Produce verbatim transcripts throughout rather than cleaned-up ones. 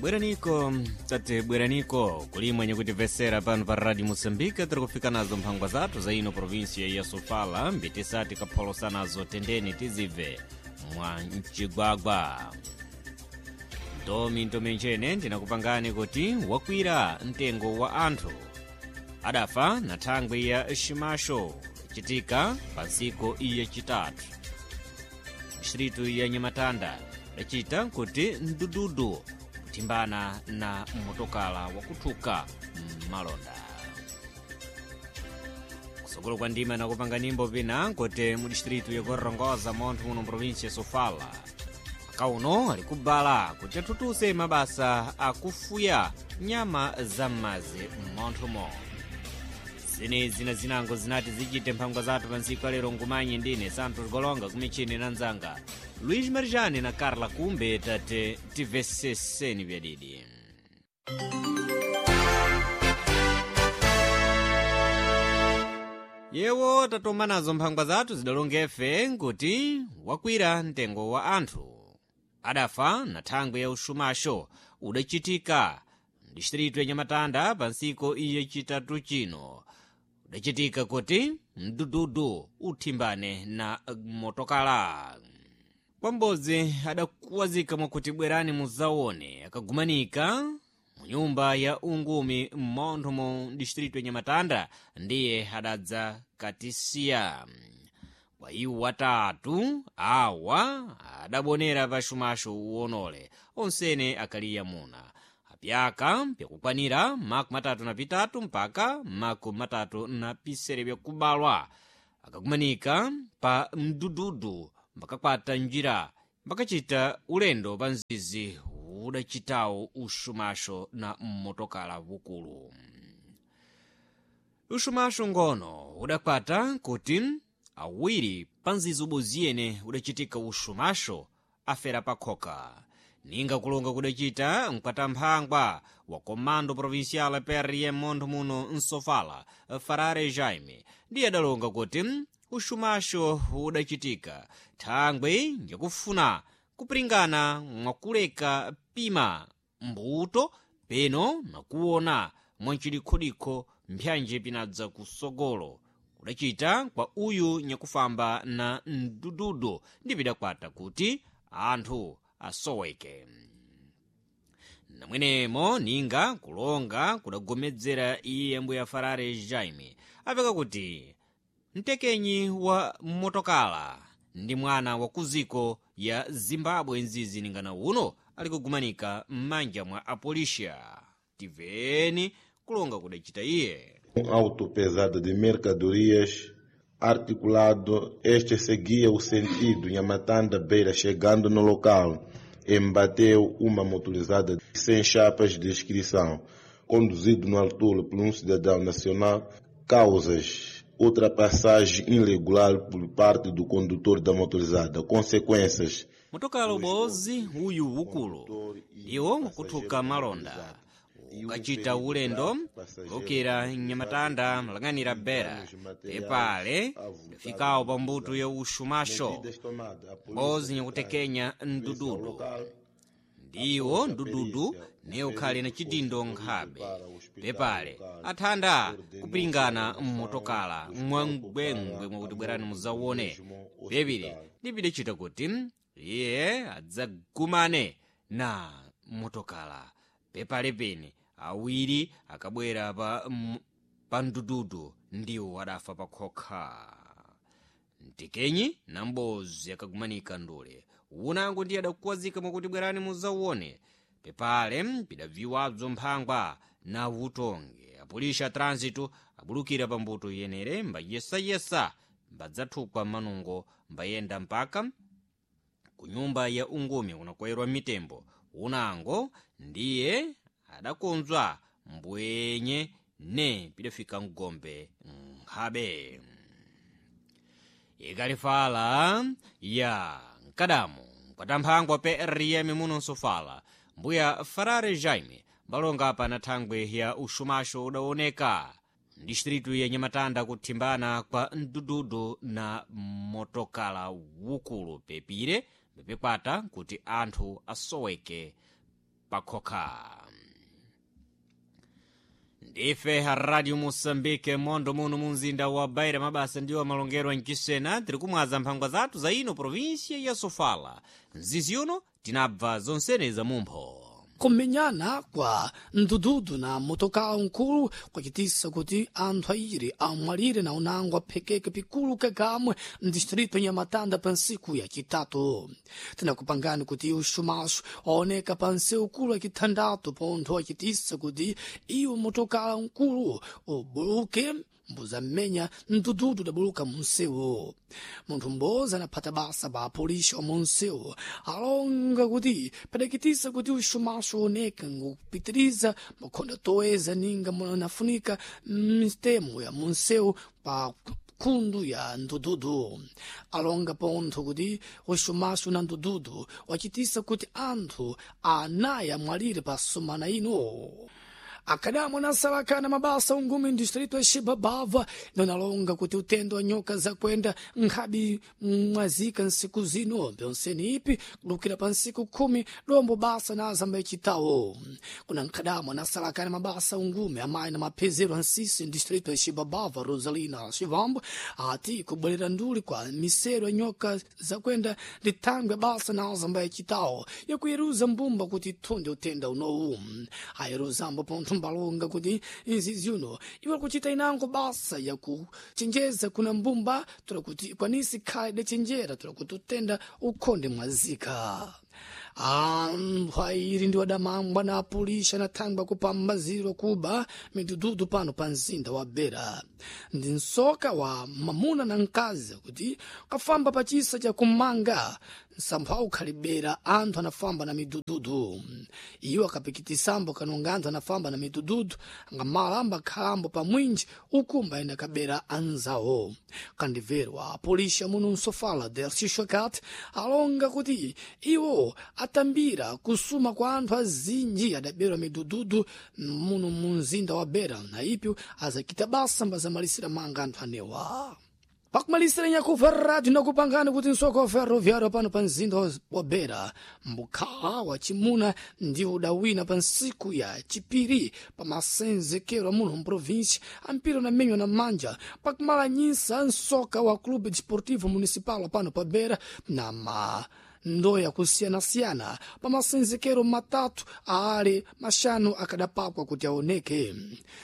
Bweraniko tate bweraniko kulimwe nyakutimvesera pano pa Radio Moçambique tiri kufika nazo mphangwa zathu za ino provinsia ya Sofala mbitisati kapholosa nazo tendeni tizibve mwa mcigwagwa. Ndomi ntomenjene ndinakupangani kuti wakwira mtengo wa anthu adafa na thangwi ya ximaxo citika pa ntsiku yacitatu distritu ya Nhamatanda lacita kuti mdududu kuthimbana na motokala wakuthuka mmalonda. Kusokolo kwa ndima nakupanga nyimbo pina kuti mu distritu ya Gorongosa montho muno provinsia ya Sofala akauno ali kubala kuti athuthuse mabasa akufuya nyama za m'madzi m'monthomo. Zenezi na zinango zinati zichite mphangwa zathu pa ntsiku alero ngumanye ndine Santos Golonga kumichini na nzanga Luiz Marjane na Carla Kumbe tate timveseseni byadidi. Yewo tatoma nazo mphangwa zathu zidalongefe nkuti wakwira mtengo wa anthu adafa na thangwi ya uxumaxo udachitika distritu ya Nhamatanda pa ntsiku yacitatu chino udachitika kuti mdududu uthimbane na motokala. Kwambodzi adakuwazika mwakuti bwerani muzaone akagumanika mu nyumba ya ungumi m'montho mu distritu ya Nhamatanda ndiye adadza katisiya. Kwa iwo watatu awa adabonera pa xumaxo uwonole onsene akaliya muna apyaka pyakukwanira makumi atatu na pitatu mpaka makumi matatu na pisere byakubalwa akakumanika pa mdududu mbakakwata njira mbakacita ulendo pa mzizi udacitawo uxumaxo na motokala wukulu. Uxumaxo ngono udakwata kuti awiri pa mzizi uboziyene udacitika uxumaxo afera pakhoka. Ninga kulonga kudacita mkwatamphangwa wa Comando Provincial P R M montho muno Nsofala Farare Jaime ndiye adalonga kuti uxumaxo udacitika thangwi njakufuna kupiringana mwakuleka pima mbuto peno nakuona mwancidikhodinkho mphyanji pinadza kusogolo kudacita kwa uyu nyakufamba na mdududu ndi pidakwata kuti anthu asoweke. Namwenemo ninga kulonga kudagomedzera iye mbuya Farare Jaime apeka kuti mtekenyi wa motokala ndi mwana wa kuziko ya Zimbabwe nzizi ningana uno ali kugumanika m'manja mwa apolisia. Tiveni kulonga kudacita iye. Um auto pesado de mercadorias articulado, este seguia o sentido Nhamatanda Beira, chegando no local, embateu uma motorizada sem chapas de inscrição, conduzido no altura por um cidadão nacional, causas ultrapassagem irregular por parte do condutor da motorizada, consequências. Motokala ubozi uyu ukulu iwo kuthuka malonda ukachita ulendo kulukira Nhamatanda malang'anira Beira pepale ndafikawo pa mbuto ya uxumaxo mbozi nyakutekenya mdududu ndiwo mdududu ne ukhale na chidindo nkhabe pepale athanda kupiringana mmotokala mwangwengwe mwakuti bwerani muzawone pepile ndipidacita kuti iye adzagumane na motokala pepale pene awiri akabwera pa, pa mdududu ndiwo adafa pakhokha. Mtekenyi na mbozi akagumanika ndule unango ndiye adakuwazika mwakuti bwerani muzawone pepale pidabviwabzo mphangwa na utonge apolisi a trânsito abulukira pa mbuto yenere mbayesayesa mbadzathukwa manungo mbayenda mpaka ku nyumba ya ungumi kunakwayirwa mitembo unango ndiye adakonzwa mbwenye ne pidafika mgombe nkhabe. Ikalifala ya mkadamu mkwatamphangwa P R M muno Nsofala mbuya Farare Jaime mbalonga apa na thangwi ya uxumaxo udaoneka distritu ya Nhamatanda kuthimbana kwa mdududu na motokala wukulu pepire pepekwata kuti anthu asoweke pakhokha. Ndife Radio Moçambique, mondo muno mu mzinda wa Beira. Mabasa ndiwo amalongerwa mchisena. Tiri kumwaza mphangwa zathu za ino província ya Sofala. Mzizi uno tinabva zonsene za mumpho. Kumenyana kwa mdududu na motokaa nkulu kwacitisa kuti anthu airi amwalire na unango aphekeke pikulu kakamwe mdistrito Nhamatanda pa nsiku ya citatu. Tinakupangani kuti uxumaxo waoneka pa nsewu ukulu acithandatu pontho wacitisa kuti iwo motokala nkulu ubuluke mbuzamenya mdududu udabuluka munsewu. Munthu m'bodzi anaphata basa pa apolisi wa munsewu alonga kuti padakitisa kuti uxumaxo uoneka ngokupitiriza makhonda toeza ninga munafunika mistemo ya munsewu pa khundu ya ndududu. Alonga pontho kuti uxumaxo na ndududu wacitisa kuti anthu anayi amwalire pa sumana ino. Akadamo nasalakana mabasa ungumi ndistrito ya Xibabava nonalonga kuti utendo wa nyoka zakwenda nkhabi mwazika nsiku zino pyonseni ipi kudukira pa nsiku khumi dombo basa na azamba icitawo. Kuna nkhadamo anasalakana mabasa ungumi amayi na maphezero ansisi ndistrito ya Xibabava Rosalina Xivambo ati kubwerera nduli kwa misero ya nyoka zakwenda ndi thangwe basa na azamba icitawo yakuyeruza mbumba kuti ithunde utenda unowu. Ayeruzambo pontho mbalonga kuti izi ziuno iwo kuchita inango basa yakuchenjeza kuna mbumba tola kuti ikwanisi khale idachenjera tola kuti utenda ukhonde mwazika. Anthu airi ndi wadamangwa na apulisha na thangwi kupambazirwa kuba midududu pano pa mzinda wa Beira. Ndi msoka wa mamuna na mkazi kuti kafamba pa chisa cha kumanga msampha ukhalibera anthu anafamba na midududu. Iwo akapikitisambo kanonga anthu anafamba na midududu angamala ambakhalambo pa mwinji ukumba ena kabera anzawo. Kandimverwa apolisi muno msofala Delcio Shakat alonga kuti iwo atambira kusuma kwa anthu azinji adaberwa midududu muno mu mzinda wa Beira na ipyo azakita basa mbazamalisira manga anthu anewa. Pakumalisira nyakuva radio nakupangani kuti msoko wa ferroviário pano pa mzinda wa Beira mbukhala wa chimuna ndi udawina pa nsiku ya chipiri pa masenzekero amuno mprovinsi ampira unamenywa na manja pakumala nyinsa msoka wa Clube Desportivo Municipal pano pa Beira na ma ndoya kusiyanasiyana pa masenzekero matatu aale maxanu akadapakwa kuti aoneke.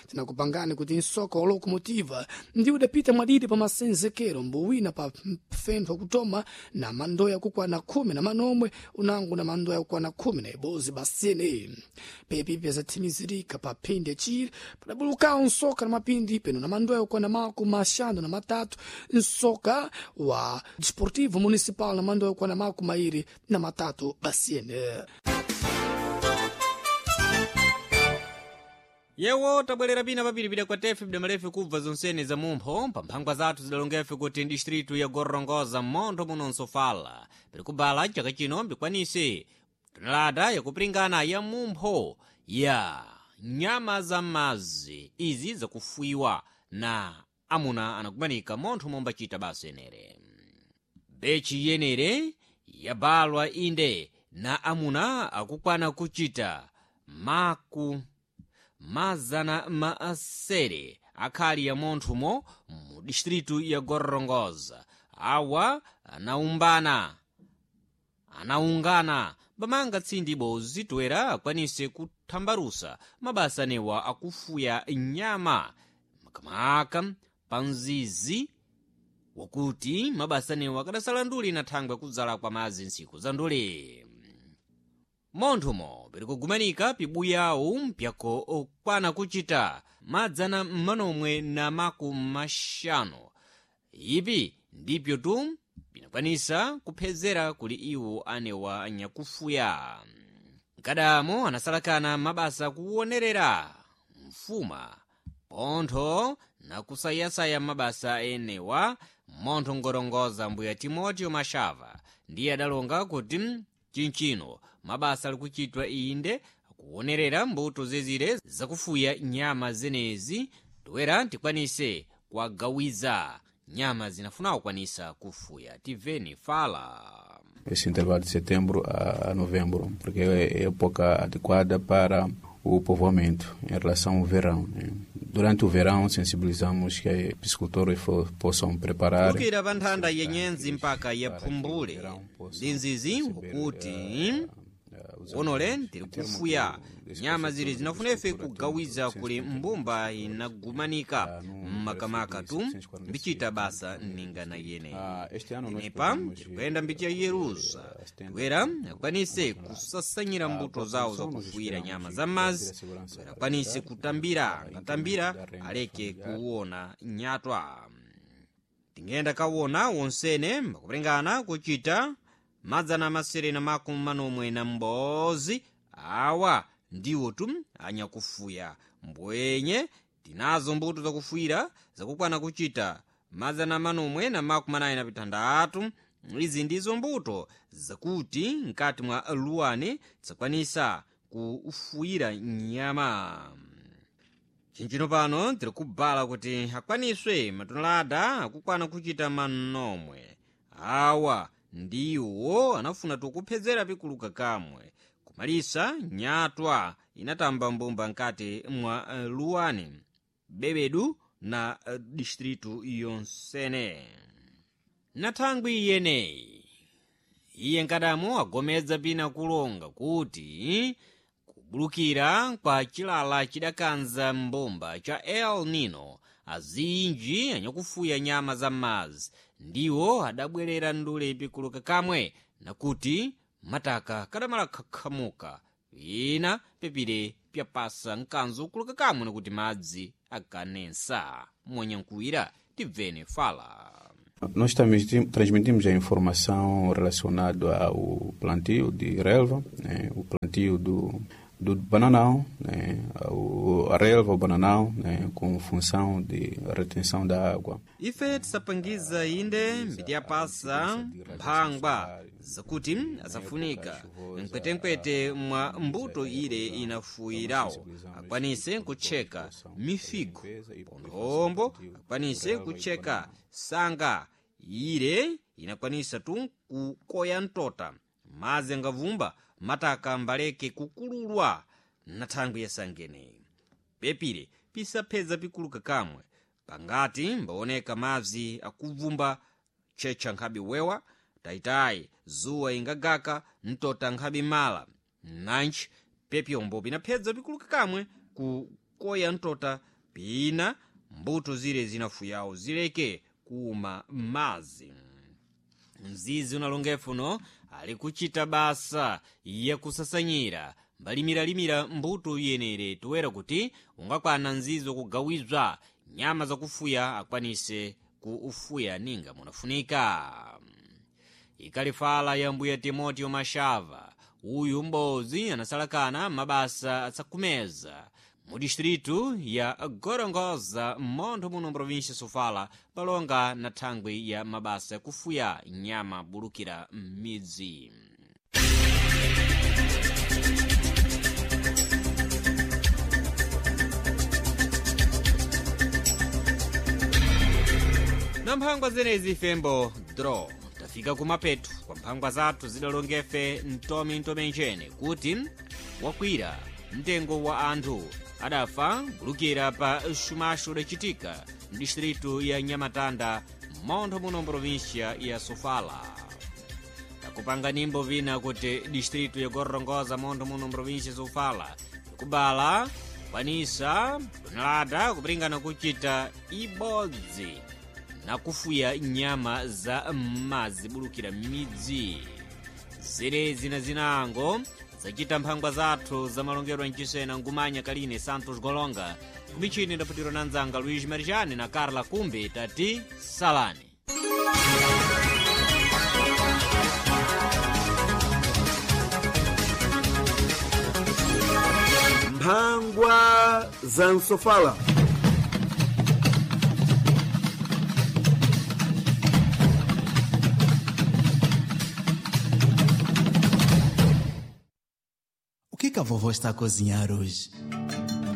Tinakupangani kuti msoka wa locomotiva ndi udapita mwadidi pa masenzekero mbuwina pa fentho kutoma na mandoya kukwana khumi na manomwe unango na mandoya kukwana khumi na ibozi basene. Pepi pyazathimizirika pa phindi yachiri padabulukawo msoka na mapindi peno na mandoya kukwana makumi maxanu na matatu msoka wa Desportivo Municipal na mandoya kukwana makumi mairi na matatu basiene. Yewo tabwerera pina papiripira kwa tefe bidamalefe kubva zonsene za mumpho pa mphangwa zathu zidalongefe kuti distritu ya Gorongosa mmontho muno Nsofala piri kubala chaka chino mbikwanise tonelada yakupiringana ya mumpho ya nyama za mazi izi zakufuiwa na amuna anakumanika montho mombachita basa enere. Bechi yenere yabalwa inde na amuna akukwana kuchita maku mazana maasere akhali ya monthumo mu distritu ya Gorongosa. Awa anaumbana anaungana bamanga tsindi bozi toera akwanise kuthambalusa mabasa anewa akufuya nyama makamaka pa mzizi wakuti mabasa anewa akadasala nduli na thangwe kudzala kwa madzi ntsiku za nduli. Monthumo piri kugumanika pibuyawu mpyako okwana kuchita madzana mmanomwe na maku maxanu. Ipi ndipyo tu pinakwanisa kuphezera kuli iwo anewa anyakufuya. Mkadamo anasalakana mabasa kuwonerera mfuma pontho nakusayasaya mabasa enewa montho ngorongoza mbuya Timoteo Mashava ndiye adalonga kuti chinchino mabasa ali kuchitwa inde kuwonerera mbuto zezire zakufuya nyama zenezi toera tikwanise kuwagawiza nyama zinafuna kukwanisa kufuya. Tiveni fala. Esse intervalo de setembro a, a novembro, porque é época adequada para o povoamento em relação ao verão, né? Durante o verão, sensibilizamos que piscicultores possam preparar. Kukira pa nthanda ya nyenzi mpaka ya phumbule ndi nzizi kuti onole tiri kufuya nyama zili zinafunefe kugawiza kuli mbumba inagumanika mmakamaka tu mbichita basa ningana yene inepa tirikuyenda mbicha yerusa toera akwanise kusasanyira mbuto zawo zakufuyira nyama za mazi toera akwanise kutambira angatambira aleke kuwona nyatwa. Tingenda kawona wonsene mbakuperengana kuchita madzana masere na makumi manomwe na m'bodzi awa ndiwo tu anyakufuya mbwenye tinazo mbuto zakufuyira zakukwana kuchita madzana manomwe na makumi anayi na pitandatu. Izi ndizo mbuto zakuti mkati mwa luwani zakwanisa kufuyira nyama. Chinchino pano tiri kubala kuti akwaniswe matonelada akukwana kuchita manomwe awa ndiwo anafuna tukuphedzera pikuluka kamwe kumalisa nyatwa inatamba mbumba nkati mwa luwani bebedu na distritu yonsene. Na thangwi yeneyi iye nkadamu agomedza pina kulonga kuti kubulukira kwa chilala chidakanza mbumba cha El Nino azinji anyakufuya nyama za m'madzi ndiwo adabwerera ndule pikuluka kamwe nakuti mataka kadamala khakhamuka ina pepire pyapasa mkanzo ukuluka kamwe nakuti madzi akanensa. Monyankuwira tibvene fala. Nós transmitimos a informação relacionada ao plantio de relva, né, o plantio do, do bananão, né, o, a relva, o bananão, né, com função de retenção da água. Ife tisapangiza inde mbitiyapasa mphangwa zakuti asafunika mkwetenkwete mwa mbuto ile inafuyirawo akwanise kutcheka mifigo ponthombo akwanise kutcheka sanga ile inakwanisa tu kukoya mtota madzi angavumba mataka mbaleke kukululwa na thangwi yasangene pepire pisaphedza pikuluka kamwe pangati mbaoneka madzi akuvumba tchetcha nkhabe wewa tayitayi zuwa ingagaka mtota nkhabe mala nanji pepyombo pinaphedza pikuluka kamwe kukoya mtota pina mbuto zile zinafuyawo zileke kuuma madzi. Mzizi unalongefuno ali kuchita basa yakusasanyira mbalimilalimira mbuto yenere toera kuti ungakwana mzizi wakugawizwa nyama zakufuya akwanise kuufuya ninga munafunika. Ikalifala ya mbuya Timoteo Mashava uyu m'bodzi anasalakana mabasa asakumeza mu distritu ya Gorongosa m'montho muno mprovinsia Sofala palonga na thangwi ya mabasa yakufuya nyama bulukira m'midzi. Na mphangwa zenezi fembo draw tafika kumapetu kwa mphangwa zathu zidalongefe mtomi ntomenjene kuti wakwira mtengo wa anthu adafa kulukira pa xumaxo udachitika mdistritu ya Nyamatanda m'montho muno mprovinsia ya Sofala. Takupanga nimbo vina kuti distritu ya Gorongosa montho muno mprovinsia ya Sofala ikubala kwanisa tonelada kupringana kuchita ibodzi nakufuya nyama za m'madzi bulukira m'midzi. Zilezi na zinango zachita mphangwa zathu za malongedwe mchisena ngumanya kaline Santos Golonga kumichini ndaputiro na nzanga Luiz Marijani na Carla Kumbe tati salani. Mphangwa za msofala. O que que a vovó está a cozinhar hoje?